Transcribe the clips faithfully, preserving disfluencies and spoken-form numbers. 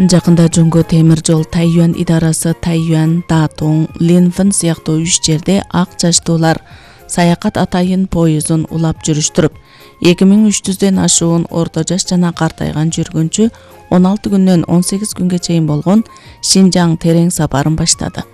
Жакында жөнгө темир жол Тайюань идарасы Тайюань, Датong, Линфэн сыяктуу үч жерде ак чачтуулар саякат атайын поездун улап жүрүштүрүп, эки миң үч жүздөн ашуун орто жаш жана картайган жүргүнчү он алты күндөн он сегиз күнгө чейин болгон Шинжаң терең сапарын баштады.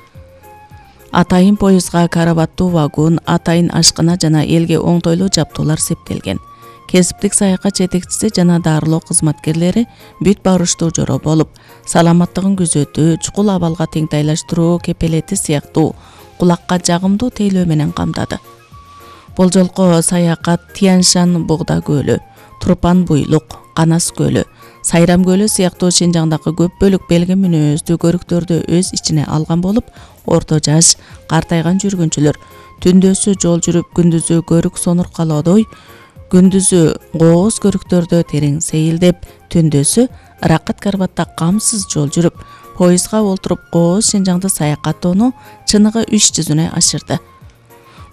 Атайын поездга карабаттуу вагон, атайын ашкына жана элге оңтойлуу жаптуулар септелген. Кесиптик саякат жетекчиси жана дарылоо кызматкерлери бүт барыштуу жоро болуп, саламаттыгын күзөтүү, чукул абалга теңтайлаштыруу кепелети сыяктуу кулакка жагымдуу тейлөө менен камдады. Бул жолку саякат Тяньшань Бугда көлү, Турпан буйлук, Канас көлү, Сайрам көлү сыяктуу Шинжаңдагы көп бөлүк белги мүнөздүү көрүктөрдү өз ичине алган болуп, орто жаш, картайган жүргүнчүлөр түндөсү жол жүрүп, күндүзү көрүк сонур калоодой, күндүзү кооз көрүктөрдө терең сейилдеп, түндөсү ыракат карбатта камсыз жол жүрүп, поездга олтуруп кооз Шинжаңды саякаттоону чыныгы үч жүзүнө ашырды.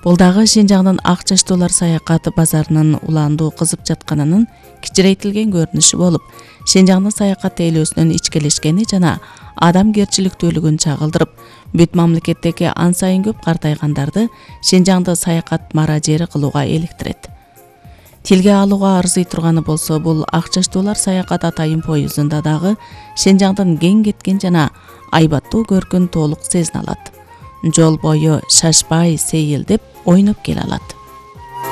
Бул дагы Шинжаңдын ак чачтуулар саякаты базарынын улаандуу кызып жатканынын кичирейтилген көрүнүшү болуп, Шинжаңдын саякат тейлөөсүнүн ичкелешкени жана адамгерчиликтүүлүгүн чагылдырып, бүт мамлекеттеги ан сайын көп картайгандарды Шинжаңды саякат мара-жери кылууга иликтирет. Тилге алууга арзый турганы болсо, бул ак чачтуулар саякат атайын поездунда дагы Шинжаңдын кең кеткен жана айбаттуу көркүн толук сезине алат. Жол бою шашпай, сейилдеп, ойноп келе алат.